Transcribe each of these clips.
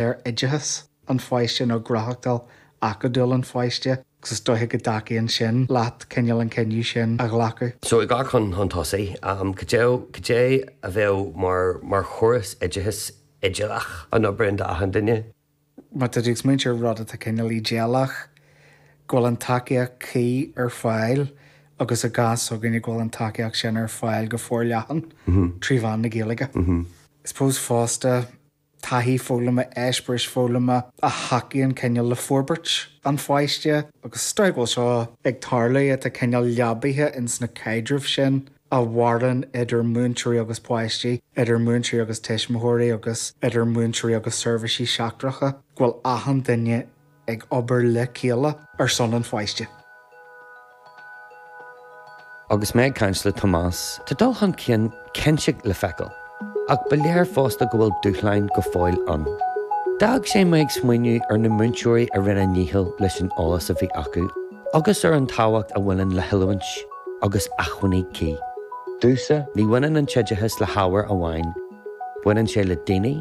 Ar oideachas an pháiste nó gnóthachtáil acadúil an pháiste agus is dóiche go dtacaíonn sin leat cineál an cinneadh sin a ghlacadh. So ag gabháil chun chun tosaigh, cad é cad é a bheadh mar mar chóras oideachais idéalach a n-oibríonn d'achan duine? Má tá tú ag smaointiú ar rud atá cineál idéalach, go bhfuil an tacaíocht cuí ar fáil agus i gcás s'againne go bhfuil an tacaíocht sin ar fáil go forleathan trí mheán na Gaeilge. I suppose fosta, taithí foghlama, eispéiris foghlama a thacaíonn cineál le forbairt an pháiste agus is dóigh go bhfuil seo ag tarlú, atá cineál leabaithe ins na caidrimh sin a mhaireann idir múinteoirí agus páistí, idir múinteoirí agus tuismitheoirí agus idir múinteoirí agus seirbhísí seachtracha, go bhfuil achan duine ag obair le chéile ar son an pháiste. Agus mé ag caint le Tomás, tá dul chun cinn cinnte le feiceáil, ach ba léir fosta go bhfuil dúshláin go fóill ann. D'fhág sé mé ag smaoineamh ar na múinteoirí a rinne a ndícheall leis an eolas a bhí acu agus ar an tábhacht a bhaineann le hoiliúint agus acmhainní cuí. Domhsa, ní bhaineann an t-oideachas le hábhar amháin, baineann sé le daoine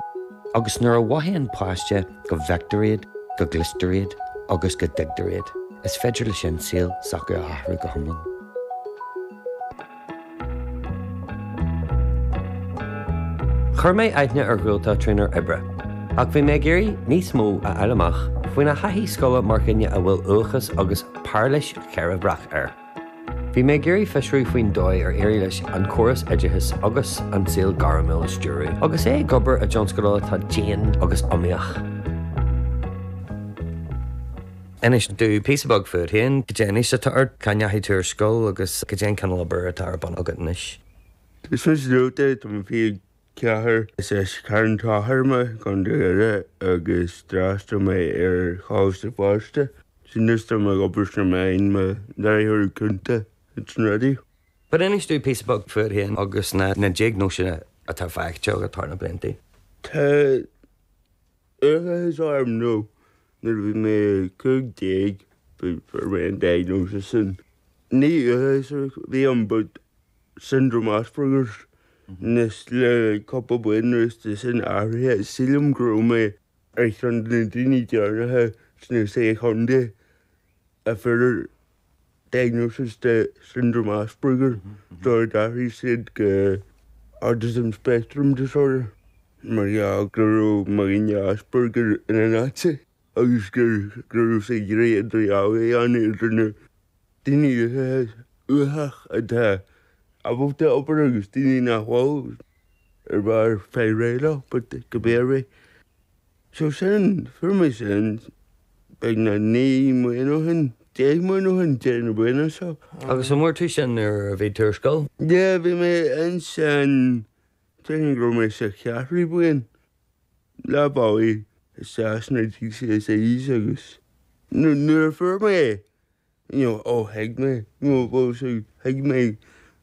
agus nuair a mhothaíonn páiste go bhfeictear iad, go gcloistear iad agus go dtuigtear iad, is féidir leis sin saol s'acu a athrú go hiomlán. Chuir mé aithne ar Dhualtach trínár oibre, ach bhí mé ag iarraidh níos mó a fháil amach faoina thaithí scoile mar dhuine a bhfuil uathachas agus pairilis cheirbreach air. Bhí mé ag iarraidh fiosrú faoin dóigh ar éirigh leis an córas oideachais agus an saol gairmiúil a stiúradh agus é ag obair i dtionscadal atá dian agus iomaíoch. Inis domh píosa beag fút féin, cad é an aois atá ort, cá ndeachaigh tú ar scoil agus cad é an cineál obair atá ar bun agat anois? Is mise Dúlta, tá mé 24. Is as Carn Tóchair mé, Contae Dhoire, agus d'fhreastail mé ar Choláiste Feirste. Anois tá mé ag obair sna meáin mar láithreoir cúnta ins an raidió. But inis domh píosa beag fút féin agus na diagnóiseanna atá faighte agat thar na blianta. Tá uathachas orm nó nuair a bhí mé 15 fuair mé an diagnosis sin. Ní uathachas a bhí ann but Syndrome Asperger's. Anois le cúpla bliain anuas tá sin athraithe. Sílim go raibh mé ar cheann de na daoine deireanacha sna Sé Chontae a fuair diagnosis de Syndrome Asperger sular d'athraigh siad go Autism Spectrum Disorder mar gheall go raibh mo dhuine Asperger ina Nazi agus go raibh sé ag iarraidh idirdhealú a dhéanamh idir na daoine uathach atá ábalta obair agus daoine nach bhfuil ar bharr fáil réidh leo but go b'é ar bith. So sin, fuair mé sin beagnach 9 mbliana ó shin, 10 mbliana ó shin, deireadh na bliana seo. Agus an bhfuair tú sin nuair a bhí tú ar scoil? Yeah, bhí mé ansin, déarfainn go raibh mé sa cheathrú bliain, leath bealaigh isteach sna GCSEs agus nuair a fuair mé é, you know, oh thuig mé, you know, well so thuig mé,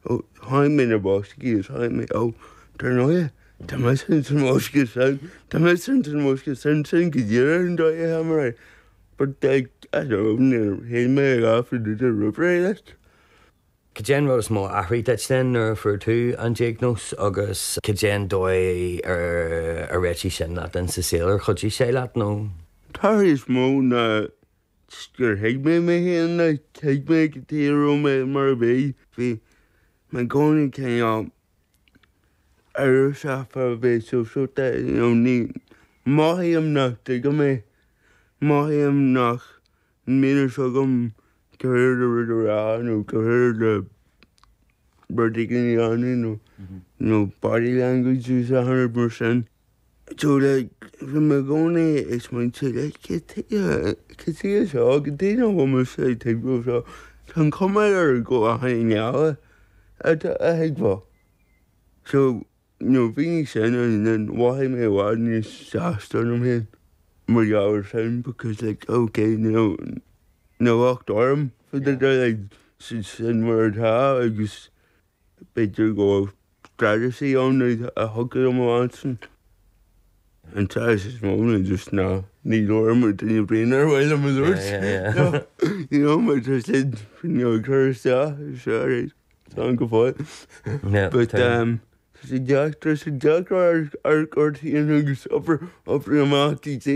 oh tháinig mé na boscaí is tháinig mé, oh dar ndóigh, tá mise ins an mbosca sin, tá mise ins an mbosca sin, sin go díreach an dóigh a tháinig mé, but like, I don't know, níor shíl mé a dhath faoi deara roimh ré like. Cad é an rud is mó a athraigh duit then nuair a fuair tú an diagnóis agus cad é an dóigh ar ar réitigh sin leat in sa saol, ar chuidigh sé leat nó? An t-athrú is mó ná gur thuig mé mé féin, like, thuig mé cad chuige a raibh mé mar a bhí. Bhí mé i gcónaí cineál amhrasach fá bheith sóisialta, you know, ní, mothaím nach dtuigim é, mothaím nach mbíonn a fhios agam cad chuige le rud a rá nó cad chuige le rud éigin a dhéanamh nó, nó body language agus achan rud mar sin. So like, bhí mé i gcónaí ag smaointiú like, cad chuige, cad chuige seo, cad chuige nach bhfuil mise ag tuigbheáil seo, tá an chuma air go bhfuil achan éinne eile atá a thuigbheáil. So, you know, bhí sin and then mhothaigh mé i bhfad níos sásta ionam féin mar gheall air sin because like, okay, you know, níl locht orm for the like, sin mar atá agus B'fhéidir go bhfuil strategy ann a thiocfadh liom a leanstan. An strategy is mó ná just ná ní labhraím le duine ar bith nár mhaith liom a labhairt. You know, mar tá siad you know, ag cur isteach, sorry, tá an go fóill. But um, Tá sé deacair, tá sé deacair amharc ort féin agus obair, obair amach duit.